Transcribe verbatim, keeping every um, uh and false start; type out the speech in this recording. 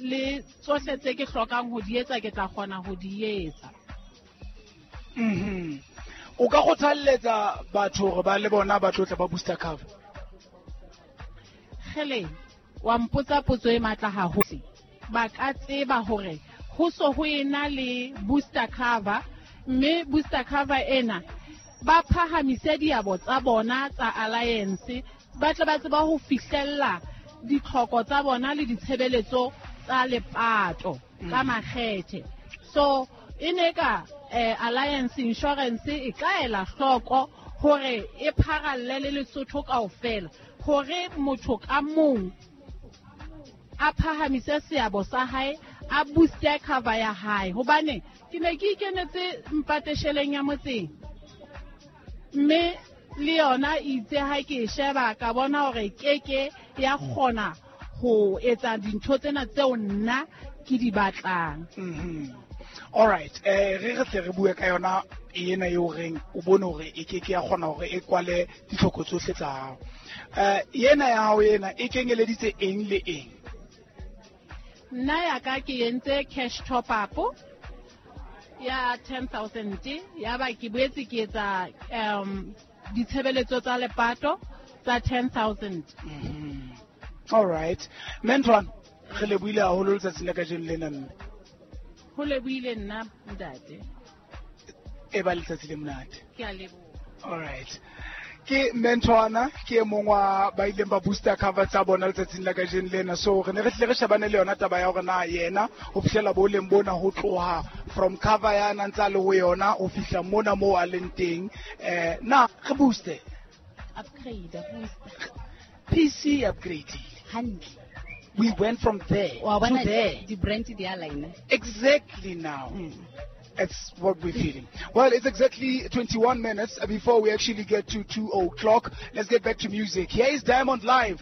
Le tsohle tse ke hlokang ho di etsa ke tla kgona ho di etsa. Mhm. O ka kgothalletsa batho hore ba le bona ba tlo tla ba booster cover? Kgele, wa mpotsa potso e matla haholo. Ba ka tseba hore ho so ho ena le booster cover, mme booster cover ena ba phahamise diabo tsa bona tsa alliance, ba tle ba tseba ho fihlella ditlhoko tsa bona le ditshebeletso tsa lepato ka makgethe. So e ne ka eh, Alliance Insurance e ka ela hloko hore e pharalle le Lesotho kaofela, hore motho ka mong a phahamise seabo sa hae, a booste cover ya hae. Hobane ke ne ke ikenetse mpatesheleng ya motseng, mme le yona itse ha ke e sheba ka bona hore keke ya kgona ho etsa dintho tsena tseo nna ke di batlang. Mhm. All right, eh re re tle re bue ka yona ena eo reng o bone hore e ke ke ya kgona hore e kwale ditlhoko tsohle tsa hao. Eh ena ya hao ena e kenyeleditse eng le eng? Nna ya ka ke entse cash top up ya ten thousand, ya ba ke boetse ke etsa um ditshebeletso tsa lepato tsa ten thousand. Mhm. All right. Mentor, re lebohile haholo letsatsing la kajeno lena mme. Ho lebohile nna ntate. E ba letsatsi le monate. Ke a leboha. All right. Ke Mentorana, ke e mong wa ba ileng ba booster cover tsa bona letsatsing la kajeno lena. So re ne re tlile re shebane le yona taba ya hore na yena ho fihlela boleng bona ho tloha from cover ya na ntsa le ho yona ho fihla mona moo a leng teng. Eh, na re booster? Upgrade, booster. P C upgrade. Hantle. We went from there Wa to bona there. Di brand di align. Exactly now. Mm. It's what we're feeling. Well, it's exactly twenty-one minutes before we actually get to two o'clock. Let's get back to music. Here is Diamond Live.